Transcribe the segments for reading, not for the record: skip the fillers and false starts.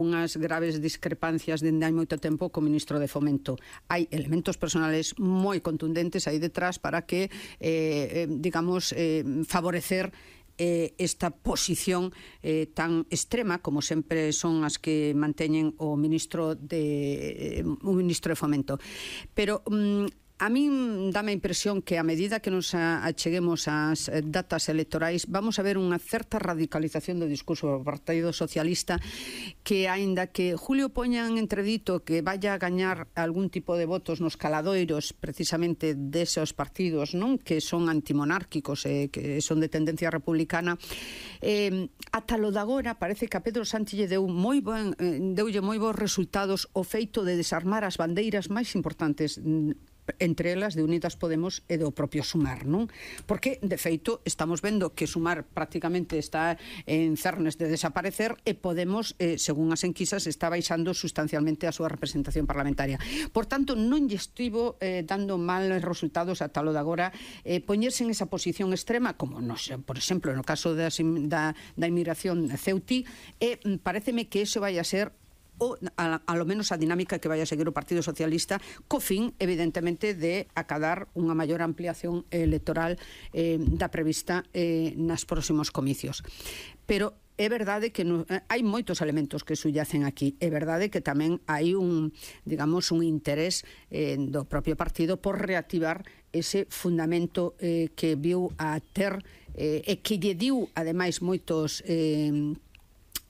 unhas graves discrepancias dende hai moito tempo co ministro de Fomento. Hai elementos personales moi contundentes aí detrás para que, digamos, favorecer esta posición tan extrema como sempre son as que manteñen o ministro de Fomento. Pero a min dame a impresión que a medida que nos acheguemos ás datas electorais vamos a ver unha certa radicalización do discurso do Partido Socialista, que aínda que Julio poña en entredito que vaya a gañar algún tipo de votos nos caladoiros precisamente desos partidos, non, que son antimonárquicos e que son de tendencia republicana, ata lo de agora parece que a Pedro Sánchez deulle moi bons resultados o feito de desarmar as bandeiras máis importantes, entre elas de Unidas Podemos e do propio Sumar, non? Porque, de feito, estamos vendo que Sumar prácticamente está en cernes de desaparecer e Podemos, según as enquisas, está baixando sustancialmente a súa representación parlamentaria. Por tanto, non lle estivo dando males resultados ata lo de agora poñerse en esa posición extrema, como, por exemplo, no caso da inmigración ceutí, e pareceme que eso vai a ser a lo menos a dinámica que vai a seguir o Partido Socialista, co fin, evidentemente, de acadar unha maior ampliación electoral da prevista nas próximos comicios. Pero é verdade que hai moitos elementos que subyacen aquí. É verdade que tamén hai un interés do propio partido por reactivar ese fundamento que viu a ter e que lle diu, ademais,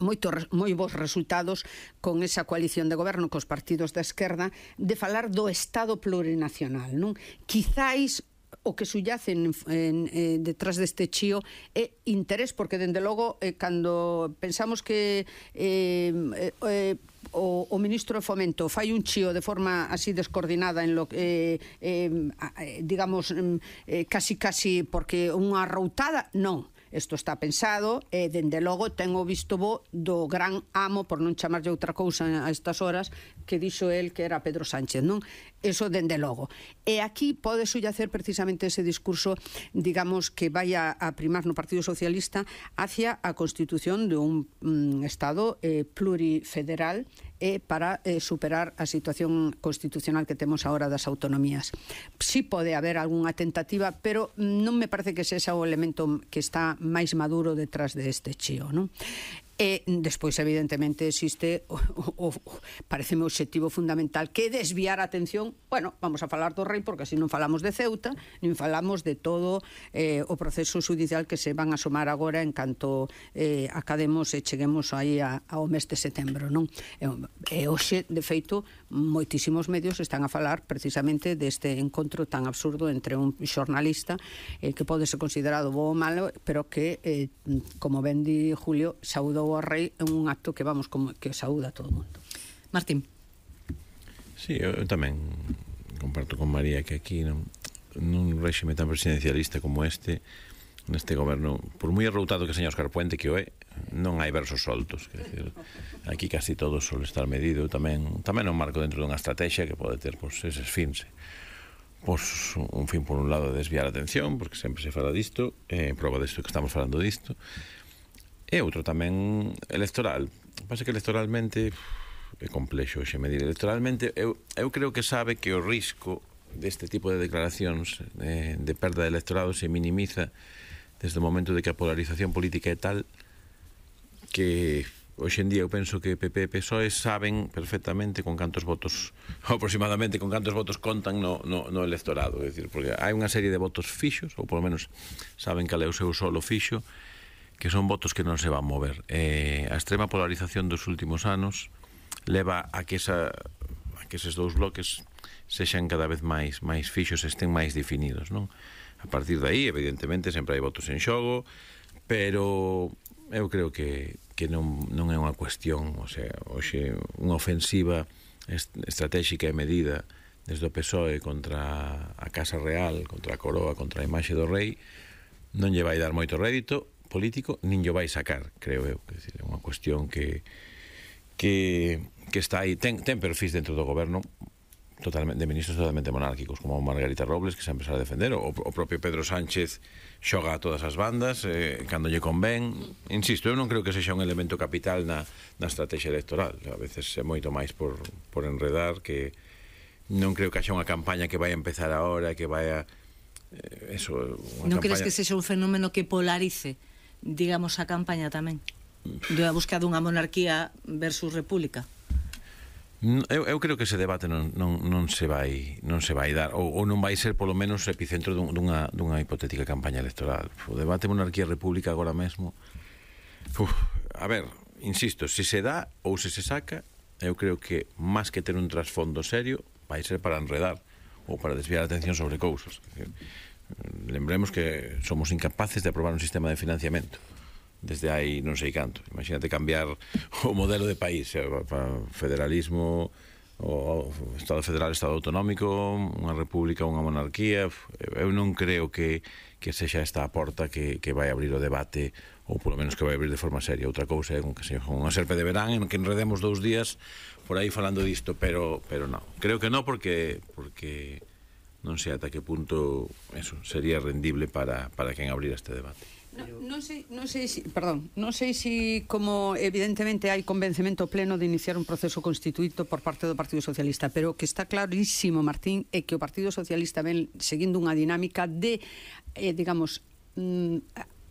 moi bons resultados con esa coalición de goberno cos partidos da esquerda, de falar do Estado plurinacional, non? Quizáis o que subyacen detrás deste chío é interés, porque dende logo cando pensamos que o ministro de Fomento fai un chío de forma así descoordinada en lo que digamos casi porque unha arroutada, non. Isto está pensado e, dende logo, ten o visto bo do gran amo, por non chamarlle outra cousa a estas horas, que dixo el que era Pedro Sánchez, non? Eso, dende logo. E aquí pode subyacer precisamente ese discurso, digamos, que vai a primar no Partido Socialista hacia a constitución de un Estado plurifederal para superar a situación constitucional que temos agora das autonomías. Si pode haber algunha tentativa, pero non me parece que ese é o elemento que está máis maduro detrás deste chío, non? E despois, evidentemente, existe pareceme o obxectivo fundamental, que é desviar a atención. Bueno, vamos a falar do rei, porque así non falamos de Ceuta, nin falamos de todo o proceso judicial que se van a asomar agora en canto academos e cheguemos aí ao mes de setembro, non? E hoxe, de feito, moitísimos medios están a falar precisamente deste encontro tan absurdo entre un xornalista que pode ser considerado bo ou malo, pero que, como ben di Julio, saudou ao rei en un acto que que saúda a todo o mundo. Martín. Sí, eu tamén comparto con María que aquí nun réxime tan presidencialista como neste goberno, por moi arroutado que seña Óscar Puente que o é, non hai versos soltos, quer dizer, aquí casi todo suele estar medido, tamén un marco dentro dunha estrategia que pode ter eses fins. Un fin por un lado de desviar a atención, porque sempre se fala disto, prova disto que estamos falando disto, e outro tamén electoral. Pasa que electoralmente é complexo hoxe medir. Electoralmente eu creo que sabe que o risco deste tipo de declaracións de perda de electorado se minimiza desde o momento de que a polarización política é tal que hoxe en día eu penso que PP e PSOE saben perfectamente con cantos votos, aproximadamente con cantos votos contan no electorado, é dicir, porque hai unha serie de votos fixos, ou polo menos saben cal é o seu solo fixo, que son votos que non se van mover. A extrema polarización dos últimos anos leva a que eses dous bloques sexan cada vez máis fixos, estén máis definidos, non? A partir de aí, evidentemente, sempre hai votos en xogo, pero eu creo que non é unha cuestión, o sea, hoxe unha ofensiva estratégica e medida desde o PSOE contra a Casa Real, contra a Coroa, contra a imaxe do rei, non lle vai dar moito rédito político, nin lle vai sacar, creo eu. É unha cuestión que está aí, ten perfis dentro do goberno de ministros totalmente monárquicos, como Margarita Robles, que sempre sale a defender, o propio Pedro Sánchez xoga a todas as bandas cando lle convén. Insisto, eu non creo que sexa un elemento capital na estrategia electoral. A veces é moito máis por enredar, que non creo que haxa unha campaña que vai a empezar agora, que vai a non crees que sexa un fenómeno que polarice, digamos, a campaña tamén? Da busca dunha monarquía versus república? Eu creo que ese debate non se vai dar, ou non vai ser polo menos epicentro dunha hipotética campaña electoral. O debate monarquía-república agora mesmo, a ver, insisto, se se dá ou se se saca, eu creo que máis que ter un trasfondo serio vai ser para enredar ou para desviar a atención sobre cousas. Lembremos que somos incapaces de aprobar un sistema de financiamento desde hai non sei canto. Imagínate cambiar o modelo de país, federalismo, o Estado federal, Estado autonómico, unha república, unha monarquía. Eu non creo que sexa esta a porta que vai abrir o debate, ou polo menos que vai abrir de forma seria. Outra cousa é que sexa unha serpe de verán en que enredemos 2 días por aí falando disto, pero non. Creo que non, porque non sei ata que punto eso sería rendible para quen abrir este debate. Non sei si como evidentemente hai convencemento pleno de iniciar un proceso constituído por parte do Partido Socialista, pero que está clarísimo, Martín, é que o Partido Socialista ven seguindo unha dinámica de, digamos,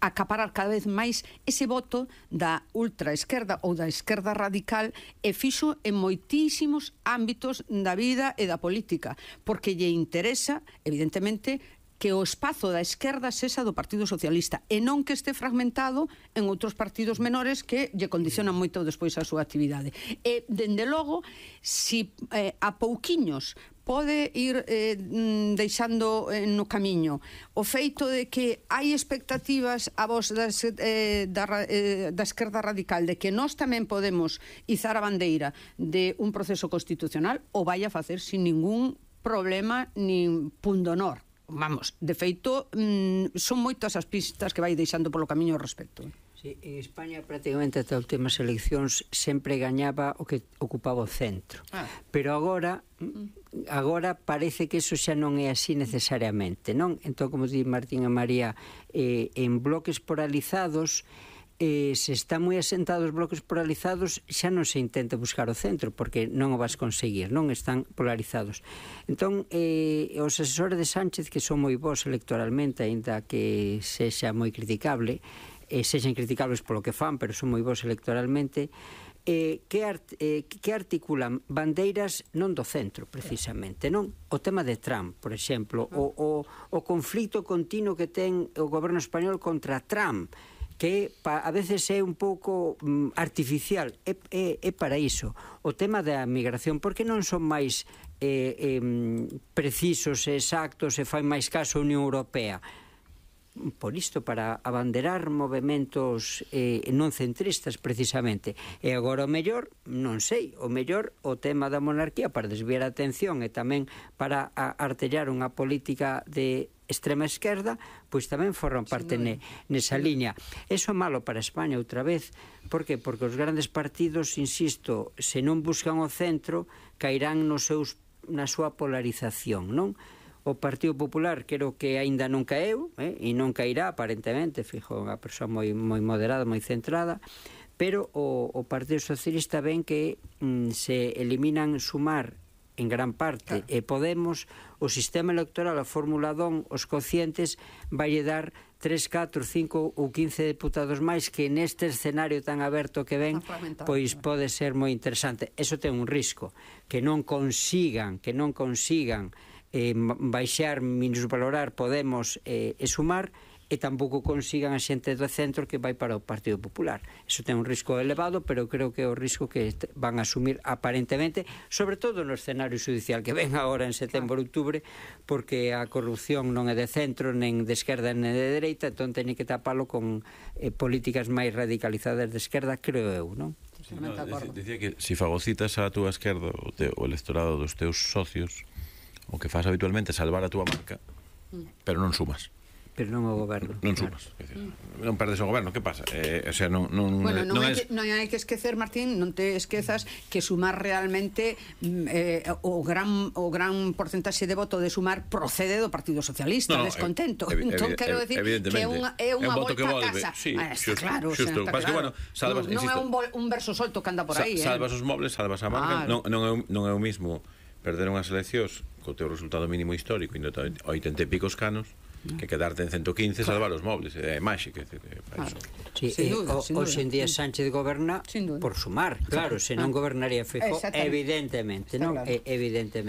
acaparar cada vez máis ese voto da ultraesquerda ou da esquerda radical, e fixo en moitísimos ámbitos da vida e da política, porque lle interesa, evidentemente, que o espazo da esquerda sexa do Partido Socialista e non que este fragmentado en outros partidos menores que lle condicionan moito despois a súa actividade. E, dende logo, si a pouquiños pode ir deixando no camiño o feito de que hai expectativas a vos da esquerda radical de que nós tamén podemos izar a bandeira de un proceso constitucional, o vai a facer sin ningún problema nin pundonor. Vamos, de feito, son moitas as pistas que vai deixando polo camiño ao respecto. Sí, en España prácticamente ata as últimas eleccións sempre gañaba o que ocupaba o centro. Pero agora parece que eso xa non é así necesariamente, non? Entón, como di Martín e María, en bloques polarizados, se está moi asentados os bloques polarizados, xa non se intenta buscar o centro, porque non o vas conseguir, non están polarizados. Entón, os asesores de Sánchez, que son moi bons electoralmente, aínda que sexa moi criticable, sexan criticables polo que fan, pero son moi bons electoralmente, que articulan bandeiras non do centro, precisamente, non? O tema de Trump, por exemplo, o conflito continuo que ten o goberno español contra Trump, que a veces é un pouco artificial, é para iso. O tema da migración, porque non son máis precisos e exactos e fai máis caso a Unión Europea? Por isto, para abanderar movementos non centristas, precisamente. E agora o mellor, non sei, o mellor o tema da monarquía para desviar a atención e tamén para artellar unha política de extrema esquerda, pois tamén forran parte nesa liña. Eso é malo para España outra vez. Por que? Porque os grandes partidos, insisto, se non buscan o centro, cairán na súa polarización, non? O Partido Popular creo que aínda non caeu, e non cairá aparentemente, fijo, unha persoa moi moderada, moi centrada, pero o Partido Socialista ven que se eliminan Sumar en gran parte, e Podemos, o sistema electoral, a Fórmula 1, os cocientes, vai dar 3, 4, 5 ou 15 deputados máis, que neste escenario tan aberto que ven, pois pode ser moi interesante. Eso ten un risco, que non consigan baixar, minusvalorar Podemos e Sumar, e tampouco consigan a xente do centro que vai para o Partido Popular. Eso ten un risco elevado, pero creo que é o risco que van a asumir aparentemente, sobre todo no escenario judicial que ven agora en setembro, outubro, porque a corrupción non é de centro, nen de esquerda, nen de dereita, entón teñen que tapalo con políticas máis radicalizadas de esquerda, creo eu, non? Dicía que se fagocitas a túa esquerda, o electorado dos teus socios, o que faz habitualmente é salvar a túa marca, pero non sumas. pero non o goberno. Non sumas, non perdes o goberno, que pasa? O sea, non hai que esquecer, Martín, non te esquezas que Sumar realmente o gran porcentaxe de voto de Sumar procede do Partido Socialista, descontento. Entón, quero decir que é unha volta a casa. Está claro. Non é un verso solto que anda por aí. Salvas os mobles, salvas a marca. Non é o mismo perder unhas eleccións co teu resultado mínimo histórico indo a 80 e picos canos que quedarte en 115 salvar os mobles, é máxico. Hoxe en día Sánchez goberna por Sumar, claro, se non gobernaría Feijóo, evidentemente, non? Evidentemente.